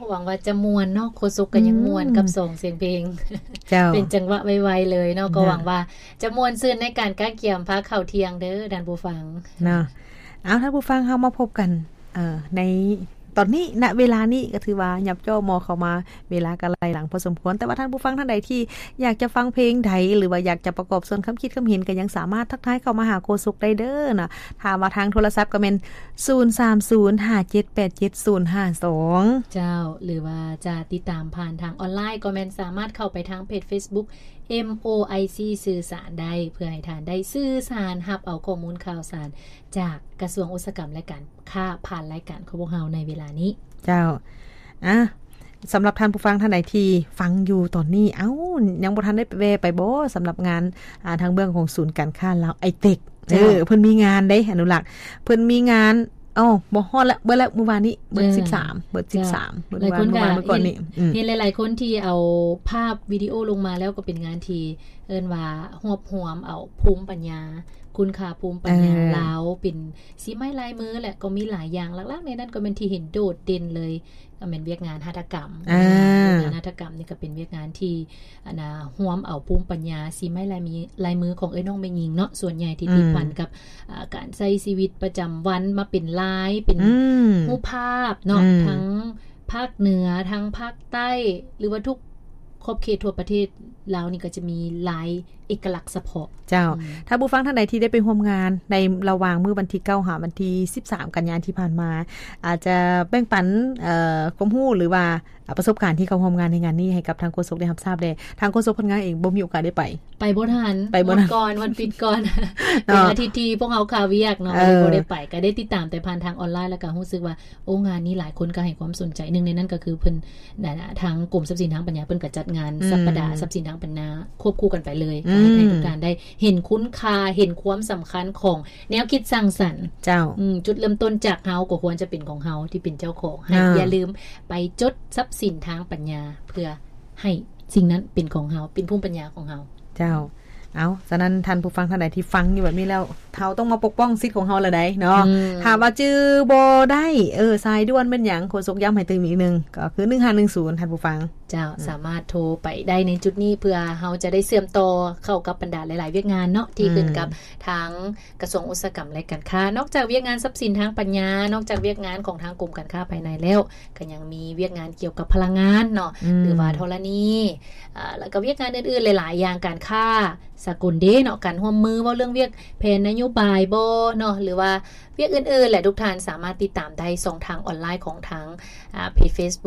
ຫວັງວ່າຈະມ່ວນເນາະ ໂຄສົກກໍຍັງມ່ວນ ອືມ ກັບສອງສຽງເພງ ເຈົ້າ ເປັນຈັງຫວະໄວໆເລີຍເນາະ ກໍ ນະ ຫວັງວ່າຈະມ່ວນຊື່ນໃນການກະກຽມພາເຂົ້າທ່ຽງເດີທ່ານຜູ້ຟັງເນາະ. ເອົາ ທ່ານຜູ້ຟັງ ເຮົາມາພົບກັນ ເອີ ໃນຕອນນີ້ ນະເວລານີ້ກໍຖືວ່າຫຍັບຈໍ່ມໍ່ເຂົ້າມາ ເວລາກໍໄລ່ຫຼັງພໍສົມຄວນ ແຕ່ວ່າທ່ານຜູ້ຟັງທ່ານໃດທີ່ຢາກຈະຟັງເພງໃດ ຫຼືວ່າຢາກຈະປະກອບສ່ວນຄຳຄິດຄຳເຫັນ ກໍຍັງສາມາດທັກທາຍເຂົ້າມາຫາໂຄສົກໄດ້ເດີເນາະ. ຖ້າວ່າທາງໂທລະສັບກໍແມ່ນ ສູນສາມສູນຫ້າເຈັດແປດເຈັດສູນຫ້າສອງ ເຈົ້າ ຫຼືວ່າຈະຕິດຕາມຜ່ານທາງອອນລາຍ ກໍແມ່ນສາມາດເຂົ້າໄປທາງເພຈເຟສບຸກ ເອັມ ໂອ ໄອ ຊີ ສື່ສານໄດ້ ເພື່ອໃຫ້ທ່ານໄດ້ສື່ສານ ຮັບເອົາຂໍ້ມູນຂ່າວສານຈາກກະຊວງອຸດສາຫະກຳ ແລະ ການຄ້າ ຜ່ານລາຍການຂອງພວກເຮົາໃນເວລານີ້. ເຈົ້າ ອາ ສຳລັບທ່ານຜູ້ຟັງທ່ານໃດທີ່ຟັງຢູ່ຕອນນີ້ ເອົ້າ ຍັງບໍ່ທັນໄດ້ແວ່ໄປບໍ່ ສຳລັບງານ ອາ ທາງເບື້ອງຂອງສູນການຄ້າລາວໄອເຕັກ ເຈົ້າ ເອີ ເພິ່ນມີງານເດ້ ອະນຸລັກ ເພິ່ນມີງານ ເອົ້າ ບໍ່ຮອດລະ ເບີດລະ ມື້ວານນີ້ ເບີດ ເອີ ສິບສາມ ເບີດ ເຈົ້າ ສິບສາມ ເບີດ ມື້ວານ ມື້ກ່ອນນີ້ ອືມ ເຫັນຫຼາຍໆຄົນທີ່ເອົາພາບວິດີໂອລົງມາແລ້ວ ກໍເປັນງານທີ່ເອີ້ນວ່າຮວບຮວມເອົາພູມປັນຍາ ຄຸນຄ່າພູມປັນຍາ ເອີ ລາວ ເປັນສີໄມ້ລາຍມື ແລະ ກໍມີຫຼາຍຢ່າງ ຫຼັກໆໃນນັ້ນກໍແມ່ນທີ່ເຫັນໂດດເດັ່ນເລີຍ ກໍແມ່ນວຽກງານຫັດຖະກຳ ອາ ວຽກງານຫັດຖະກຳນີ້ກໍເປັນວຽກງານທີ່ ອັນນ່າ ຮວມເອົາພູມປັນຍາສີໄມ້ລາຍມີ ລາຍມືຂອງເອື້ອຍນ້ອງແມ່ຍິງເນາະ ສ່ວນໃຫຍ່ທີ່ ອືມ ຕິດພັນກັບ ອາ ການໃຊ້ຊີວິດປະຈຳວັນ ມາເປັນລາຍ ເປັນ ອືມ ຮູບພາບເນາະ ອືມ ທັງພາກເໜືອ ທັງພາກໃຕ້ ຫຼືວ່າທຸກຂອບເຂດທົ່ວປະເທດລາວນີ້ ກໍຈະມີລາຍເອກະລັກສະເພາະ. ເຈົ້າ ອືມ ຖ້າຜູ້ຟັງທ່ານໃດທີ່ໄດ້ໄປຮ່ວມງານໃນລະຫວ່າງມື້ວັນທີເກົ້າຫາວັນທີສິບສາມກັນຍາທີ່ຜ່ານມາ ອາດຈະແບ່ງປັນ ເອີ ຄວາມຮູ້ ຫຼືວ່າ ອາ ປະສົບການທີ່ເຂົ້າຮ່ວມງານໃນງານນີ້ໃຫ້ກັບທາງໂຄສົກໄດ້ຮັບຊາບແດ່. ທາງໂຄສົກເພິ່ນເອງບໍ່ມີໂອກາດໄດ້ໄປ ໄປບໍ່ທັນ ໄປບໍ່ທັນ ໝົດກ່ອນ ວັນປິດກ່ອນ ເປັນອາທິດທີ່ພວກເຮົາຄາວຽກເນາະ ເອີ ກໍເລີຍບໍ່ໄດ້ໄປ ກໍໄດ້ຕິດຕາມແຕ່ຜ່ານທາງອອນລາຍ ແລ້ວກໍຮູ້ສຶກວ່າ ໂອ້ ງານນີ້ຫຼາຍຄົນກໍໃຫ້ຄວາມສົນໃຈ ໜຶ່ງໃນນັ້ນກໍຄືເພິ່ນ ທາງກົມຊັບສິນທາງປັນຍາ ເພິ່ນກໍຈັດງານ ອືມ ສັບປະດາຊັບສິນທາງປັນຍາ ຄວບຄູ່ກັນໄປເລີຍ ອືມ ກໍເຮັດໃຫ້ທຸກທ່ານໄດ້ເຫັນຄຸນຄ່າ ເຫັນຄວາມສຳຄັນຂອງແນວຄິດສ້າງສັນ. ເຈົ້າ ອືມ ຈຸດເລີ່ມຕົ້ນຈາກເຮົາ ກໍຄວນຈະເປັນຂອງເຮົາທີ່ເປັນເຈົ້າຂອງ ໃຫ້ ອ່າ ຢ່າລືມໄປຈົດຊັບສິນທາງປັນຍາ ເພື່ອໃຫ້ສິ່ງນັ້ນເປັນຂອງເຮົາ ເປັນພູມປັນຍາຂອງເຮົາ. ເຈົ້າ ເອົາ ສະນັ້ນທ່ານຜູ້ຟັງທ່ານໃດທີ່ຟັງຢູ່ແບບນີ້ແລ້ວ ເຮົາຕ້ອງມາປົກປ້ອງສິດຂອງເຮົາລະໃດເນາະ. ອືມ ຖ້າວ່າຈື່ບໍ່ໄດ້ ເອີ ສາຍດ່ວນແມ່ນຫຍັງ ໂຄສົກຢ້ຳໃຫ້ຕື່ມອີກໜຶ່ງ ກໍຄື ໜຶ່ງຫ້າໜຶ່ງສູນ ທ່ານຜູ້ຟັງ. ເຈົ້າ ອືມ ສາມາດໂທໄປໄດ້ໃນຈຸດນີ້ ເພື່ອເຮົາຈະໄດ້ເຊື່ອມຕໍ່ເຂົ້າກັບບັນດາຫຼາຍໆວຽກງານເນາະ ທີ່ ອືມ ຂຶ້ນກັບທາງກະຊວງອຸດສາຫະກຳ ແລະ ການຄ້າ. ນອກຈາກວຽກງານຊັບສິນທາງປັນຍາ ນອກຈາກວຽກງານຂອງທາງກົມການຄ້າພາຍໃນແລ້ວ ກໍຍັງມີວຽກງານກ່ຽວກັບພະລັງງານເນາະ ອືມ ຫຼືວ່າທໍລະນີ ອາ ແລ້ວກໍວຽກງານອື່ນໆຫຼາຍໆຢ່າງ ການຄ້າສາກົນເດ້ເນາະ ການຮ່ວມມື ເວົ້າເລື່ອງວຽກແຜນນະໂຍບາຍບໍເນາະ ຫຼືວ່າວຽກອື່ນໆແຫຼະ ທຸກທ່ານສາມາດຕິດຕາມໄດ້ຊ່ອງທາງອອນລາຍຂອງທາງ ອາ ເພຈເຟສ